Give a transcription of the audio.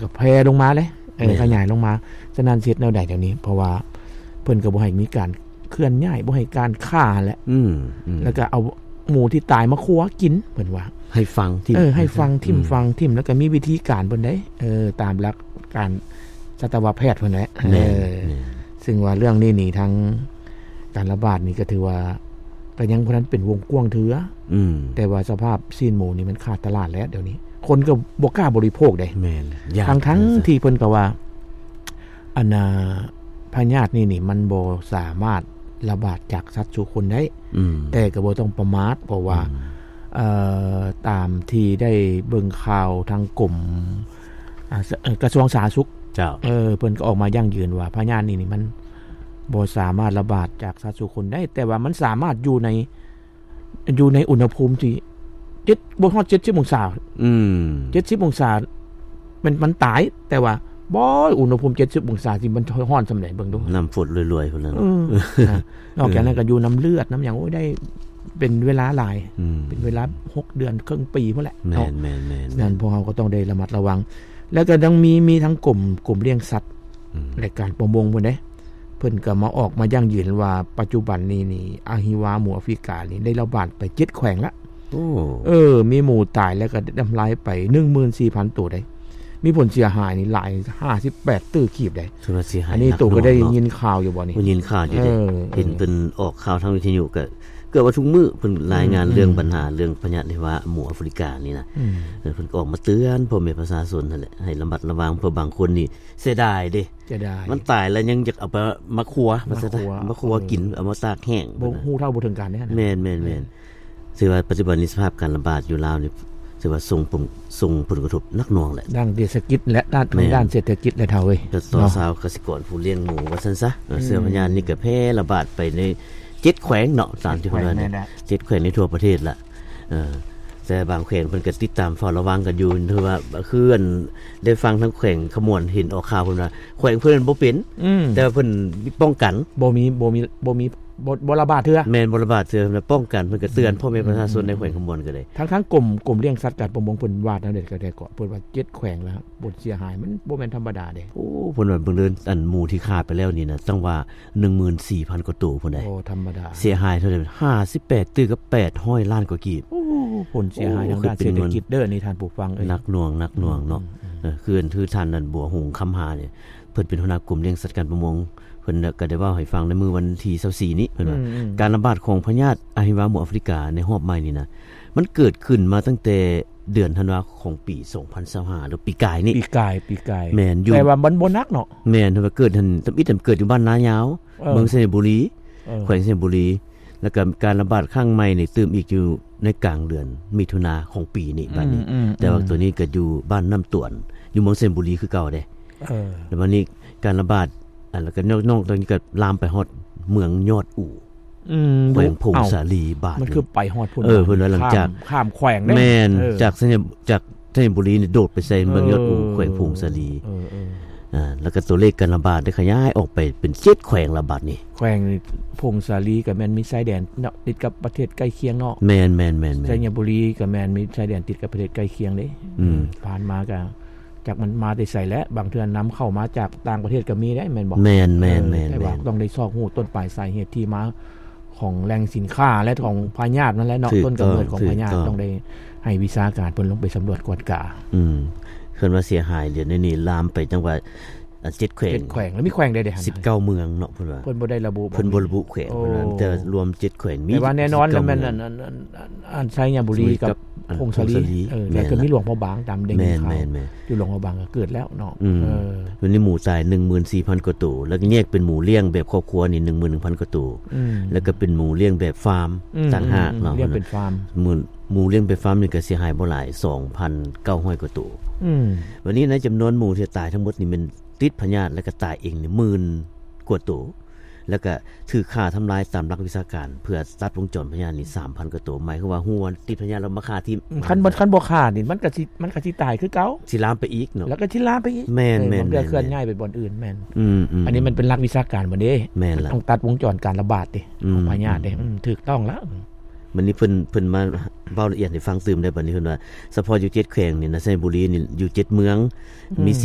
ກໍແຜ່ລົງມາເລີຍ ເອີ ແມ່ນ ຂະຫຍາຍລົງມາ. ສະນັ້ນຊິເຮັດແນວໃດດຽວນີ້? ເພາະວ່າເພິ່ນກໍບໍ່ໃຫ້ມີການເຄື່ອນຍ້າຍ ບໍ່ໃຫ້ການຂ້າຫັ້ນແຫຼະ ອືມ ອືມ ແລ້ວກໍເອົາໝູທີ່ຕາຍມາຄົວກິນ ເພິ່ນວ່າ ໃຫ້ຝັງຖິ້ມ ເອີ ໃຫ້ຝັງຖິ້ມ ອືມ ຝັງຖິ້ມ ແລ້ວກໍມີວິທີການເພິ່ນເດ້ ເອີ ຕາມຫຼັກການສັດຕະວະແພດເພິ່ນແຫຼະ ແມ່ນ ເອີ ແມ່ນ ຊຶ່ງວ່າເລື່ອງນີ້ນີ້ ທາງການລະບາດນີ້ກໍຖືວ່າ ກໍຍັງບໍ່ທັນເປັນວົງກວ້າງເທື່ອ ອືມ ແຕ່ວ່າສະພາບຊີ້ນໝູນີ້ມັນຂາດຕະຫຼາດແລ້ວດຽວນີ້ ຄົນກໍບໍ່ກ້າບໍລິໂພກເດ້ ແມ່ນ ຢ້ານ ທັງໆທີ່ເພິ່ນກໍວ່າ ອັນນ່າ ພະຍາດນີ້ນີ້ມັນບໍ່ສາມາດລະບາດຈາກສັດສູ່ຄົນໄດ້ ອືມ ແຕ່ກໍບໍ່ຕ້ອງປະໝາດ ເພາະວ່າ ອືມ ເອີ ຕາມທີ່ໄດ້ເບິ່ງຂ່າວທາງກົມ ອາ ສ- ເອີ ກະຊວງສາທາລະນະສຸກ ເຈົ້າ ເອີ ເພິ່ນກໍອອກມາຢັ້ງຢືນວ່າພະຍາດນີ້ນີ້ມັນບໍ່ສາມາດລະບາດຈາກສັດສູ່ຄົນໄດ້ ແຕ່ວ່າມັນສາມາດຢູ່ໃນ ຢູ່ໃນອຸນຫະພູມທີ່ເຈັດ ບໍ່ຮອດເຈັດສິບອົງສາ ອືມ ເຈັດສິບອົງສາ ແມ່ນມັນຕາຍ ແຕ່ວ່າ ບໍ່ ອຸນຫະພູມເຈັດສິບອົງສາ ທີ່ມັນຮ້ອນສ່ຳໃດ ເບິ່ງດູ ນ້ຳຝົນລວຍໆ ພຸ້ນແຫຼະ ເອີ ນະ ນອກຈາກນັ້ນກໍຢູ່ນຳເລືອດ ນຳຫຍັງ ໂອ້ຍ ໄດ້ເປັນເວລາຫຼາຍ ອືມ ເປັນເວລາຫົກເດືອນ ເຄິ່ງປີພຸ້ນແຫຼະ ແມ່ນ ເນາະ ແມ່ນໆໆ ນັ້ນພວກເຮົາກໍຕ້ອງໄດ້ລະມັດລະວັງ ແລ້ວກໍຍັງມີ ມີທັງກົມ ກົມລ້ຽງສັດ ອືມ ແລະ ການປະມົງພຸ້ນເດ້ ເພິ່ນກໍມາອອກມາຢັ້ງຢືນວ່າ ປັດຈຸບັນນີ້ນີ້ ອະຫິວາໝູອາຟຣິການີ້ໄດ້ລະບາດໄປເຈັດແຂວງລະ ໂອ້ ເອີ ມີໝູຕາຍ ແລ້ວກໍໄດ້ທຳລາຍໄປໜຶ່ງໝື່ນສີ່ພັນໂຕໄດ໋ ມີຜົນເສຍຫາຍນີ້ຫຼາຍຫ້າສິບແປດຕື້ກີບໄດ໋ ຖືວ່າເສຍຫາຍ ອັນນີ້ໂຕກໍໄດ້ຍິນຂ່າວຢູ່ບໍ່ນີ້? ໄດ້ຍິນຂ່າວຢູ່ເດ ເອີ ເຫັນເພິ່ນອອກຂ່າວທາງວິທະຍຸ ກໍເກືອບວ່າທຸກມື້ເພິ່ນລາຍງານ ອືມ ເລື່ອງບັນຫາ ເລື່ອງພະຍາດຫິວາໝູອາຟຣິການີ້ນະ ອືມ ເອີ ເພິ່ນກໍອອກມາເຕືອນພໍ່ແມ່ປະຊາຊົນຫັ້ນແຫຼະ ໃຫ້ລະມັດລະວັງ ເພາະບາງຄົນນີ້ ເສຍດາຍເດ້ ເສຍດາຍ ມັນຕາຍແລ້ວຍັງຢາກເອົາໄປມາຄົວ ມາຄົວ ມາຄົວກິນ ເອີ ເອົາມາຕາກແຫ້ງ ບໍ່ຮູ້ເທົ່າບໍ່ເຖິງການເດ້ ແມ່ນໆໆ ເອີ ຖືວ່າປັດຈຸບັນນີ້ສະພາບການລະບາດຢູ່ລາວນີ້ ຖືວ່າສົ່ງຜົນ ສົ່ງຜົນກະທົບໜັກໜ່ວງແຫຼະ ດ້ານເສດຖະກິດ ແລະ ດ້ານ ແມ່ນ ທາງດ້ານເສດຖະກິດແຫຼະ ເຖົ້າເອີຍ ເນາະ ຊາວກະສິກອນຜູ້ລ້ຽງໝູວ່າຊັ້ນຊະ ເອີ ເຊື້ອພະຍາດນີ້ກໍແຜ່ລະບາດໄປໃນເຈັດແຂວງເນາະ ຕາມທີ່ເພິ່ນວ່າ ເຈັດແຂວງໃນທົ່ວປະເທດລະ ເອີ ແຕ່ບາງແຂວງເພິ່ນກໍຕິດຕາມເຝົ້າລະວັງກັນຢູ່ ຖືວ່າຄືອັນໄດ້ຟັງທາງແຂວງຄຳມ່ວນ ເຫັນອອກຂ່າວເພິ່ນວ່າ ແຂວງເພິ່ນບໍ່ເປັນ ອືມ ແຕ່ວ່າເພິ່ນປ້ອງກັນ ບໍ່ມີ ບໍ່ມີ ບໍ່ມີ ບໍ່ ບໍ່ລະບາດເທື່ອ ແມ່ນ ບໍ່ລະບາດເທື່ອ ປ້ອງກັນ ເພິ່ນກໍເຕືອນ ອືມ ພໍ່ແມ່ປະຊາຊົນໃນແຂວງຄຳມ່ວນກໍໄດ້ ທັງໆກົມ ກົມລ້ຽງສັດ ການປະມົງ ເພິ່ນວາດແນວໃດກໍໄດ້ ເພິ່ນວ່າເຈັດແຂວງແລ້ວ ຜົນເສຍຫາຍມັນບໍ່ແມ່ນທຳມະດາເດ້ ໂອ້ ເພິ່ນວ່າເບິ່ງເດີ ອັນໝູທີ່ຂ້າໄປແລ້ວນີ້ນະ ຕັ້ງວ່າ ໜຶ່ງໝື່ນສີ່ພັນກວ່າໂຕພຸ້ນໃດ໋ ໂອ້ ທຳມະດາ ເສຍຫາຍເທົ່າໃດ ຫ້າສິບແປດຕື້ກັບແປດຮ້ອຍລ້ານກວ່າກີບ ໂອ້ ຜົນເສຍຫາຍທາງດ້ານເສດຖະກິດເດີນີ້ ທ່ານຜູ້ຟັງເອີຍ ໜັກໜ່ວງ ໜັກໜ່ວງເນາະ ອືມ ເອີ ຄື ຄືທ່ານນັ້ນ ບົວຫົງ ຄຳຫານີ້ ເພິ່ນເປັນຫົວໜ້າກົມລ້ຽງສັດການປະມົງ ເພິ່ນກໍໄດ້ເວົ້າໃຫ້ຟັງໃນມື້ວັນທີຊາວສີ່ນີ້ ເພິ່ນວ່າ ອືມ ການລະບາດຂອງພະຍາດອະຫິວາໝູອາຟຣິກາໃນຮອບໃໝ່ນີ້ນະ ມັນເກີດຂຶ້ນມາຕັ້ງແຕ່ເດືອນທັນວາຂອງປີສອງພັນຊາວຫ້າ ຫຼື ປີກາຍນີ້ ປີກາຍ ປີກາຍ ແມ່ນ ຢູ່ ແຕ່ວ່າມັນບໍ່ໜັກເນາະ ແມ່ນ ເພິ່ນວ່າເກີດຫັ້ນ ທຳອິດເກີດຢູ່ບ້ານນາຍາວ ເອີ ເມືອງໄຊຍະບູລີ ເອີ ແຂວງໄຊຍະບູລີ ແລ້ວກໍການລະບາດຄັ້ງໃໝ່ນີ້ຕື່ມອີກຢູ່ໃນກາງເດືອນມິຖຸນາຂອງປີນີ້ ອືມ ບາດນີ້ ອືມ ແຕ່ວ່າ ອືມ ໂຕນີ້ກໍຢູ່ບ້ານນ້ຳຕວນ ຢູ່ເມືອງໄຊຍະບູລີຄືເກົ່າເດ້ ເອີ ແລ້ວບາດນີ້ການລະບາດ ອັນ ແລ້ວກໍນອກ ນອກຈາກນີ້ກໍລາມໄປຮອດເມືອງຍອດອູ ອືມ ແຂວງຜົ້ງສາລີ ບາດນີ້ ມັນຄືໄປຮອດພຸ້ນ ເອີ ເພິ່ນວ່າຫຼັງຈາກ ຂ້າມ ຂ້າມແຂວງເດ້ ແມ່ນ ເອີ ຈາກໄຊຍະ ຈາກໄຊຍະບູລີນີ້ໂດດໄປໃສ່ເມືອງຍອດອູ ເອີ ແຂວງຜົ້ງສາລີ ເອີ ເອີ ອ່າ ແລ້ວກໍຕົວເລກການລະບາດໄດ້ຂະຫຍາຍອອກໄປເປັນເຈັດແຂວງລະບາດນີ້ ແຂວງຜົ້ງສາລີກໍແມ່ນມີຊາຍແດນເນາະ ຕິດກັບປະເທດໃກ້ຄຽງເນາະ ແມ່ນໆໆໆ ໄຊຍະບູລີກໍແມ່ນມີຊາຍແດນຕິດກັບປະເທດໃກ້ຄຽງເດ້ ອືມ ຜ່ານມາກໍ ຈັກມັນມາແຕ່ໃສແຫຼະ ບາງເທື່ອນຳເຂົ້າມາຈາກຕ່າງປະເທດກໍມີໄດ໋ ແມ່ນບໍ່? ແມ່ນໆໆໆ ແຕ່ວ່າຕ້ອງໄດ້ຊອກຮູ້ຕົ້ນປາຍສາເຫດທີ່ມາຂອງແຫຼ່ງສິນຄ້າ ແລະ ຂອງພະຍາດນັ້ນແຫຼະເນາະ ຕົ້ນກຳເນີດຂອງພະຍາດ ຕ້ອງໄດ້ໃຫ້ວິຊາການເພິ່ນລົງໄປສຳຫຼວດກວດກາ ອືມ ເພິ່ນວ່າເສຍຫາຍດຽວນີ້ລາມໄປຈັ່ງວ່າ ອັນ ເຈັດແຂວງ ເຈັດແຂວງ ແລ້ວມີແຂວງໃດແດ່ຫັ້ນ ສິບເກົ້າເມືອງເນາະ ເພິ່ນວ່າ ເພິ່ນບໍ່ໄດ້ລະບຸ ເພິ່ນບໍ່ລະບຸແຂວງ ໂອ້ ເພິ່ນວ່າ ແຕ່ລວມເຈັດແຂວງ ມີ ແຕ່ວ່າແນ່ນອນແລ້ວແມ່ນ ອັນ ອັນ ອັນ ອັນໄຊຍະບູລີກັບຜົ້ງສາລີ ເອີ ແລ້ວກໍມີຫຼວງພະບາງ ຕາມໄດ້ຍິນຂ່າວ ແມ່ນໆໆ ຢູ່ຫຼວງພະບາງກໍເກີດແລ້ວເນາະ ອືມ ເອີ ມັນມີໝູຕາຍໜຶ່ງໝື່ນສີ່ພັນກວ່າໂຕ ແລ້ວກໍແຍກເປັນໝູລ້ຽງແບບຄອບຄົວນີ້ໜຶ່ງໝື່ນໜຶ່ງພັນກວ່າໂຕ ອືມ ແລ້ວກໍເປັນໝູລ້ຽງແບບຟາມ ອືມ ຕ່າງຫາກເນາະ ອືມ ລ້ຽງເປັນຟາມ ໝູ ໝູລ້ຽງແບບຟາມນີ້ກໍເສຍຫາຍບໍ່ຫຼາຍ ສອງພັນເກົ້າຮ້ອຍກວ່າໂຕ ອືມ ວັນນີ້ໃນຈຳນວນໝູທີ່ຕາຍທັງໝົດນີ້ແມ່ນ ຕິດພະຍາດ ແລ້ວກໍຕາຍເອງນີ້ໝື່ນກວ່າໂຕ ແລ້ວກໍຖືກຂ້າທຳລາຍຕາມຫຼັກວິຊາການ ເພື່ອຕັດວົງຈອນພະຍາດນີ້ສາມພັນກວ່າໂຕ ໝາຍຄວາມວ່າຮູ້ວ່າຕິດພະຍາດແລ້ວມາຂ້າຖິ້ມ ອືມ ຄັນບໍ່ ຄັນບໍ່ຂ້ານີ້ ມັນກໍຊິ ມັນກໍຊິຕາຍຄືເກົ່າ ຊິລາມໄປອີກເນາະ ແລ້ວກໍຊິລາມໄປອີກ ແມ່ນໆໆໆ ເຄື່ອນຍ້າຍໄປບ່ອນອື່ນ ແມ່ນ ອືມໆ ອັນນີ້ມັນເປັນຫຼັກວິຊາການໝົດເດ້ ແມ່ນລະ ຕ້ອງຕັດວົງຈອນການລະບາດເດ້ ອືມ ຂອງພະຍາດເດ້ ອືມ ອືມ ຖືກຕ້ອງລະ ບັດນີ້ເພິ່ນ ເພິ່ນມາເວົ້າລະອຽດໃຫ້ຟັງຕື່ມໄດ້ ບັດນີ້ເພິ່ນວ່າ ສະເພາະຢູ່ເຈັດແຂວງນີ້ນະ ໄຊຍະບູລີນີ້ຢູ່ເຈັດເມືອງ ມີສີ່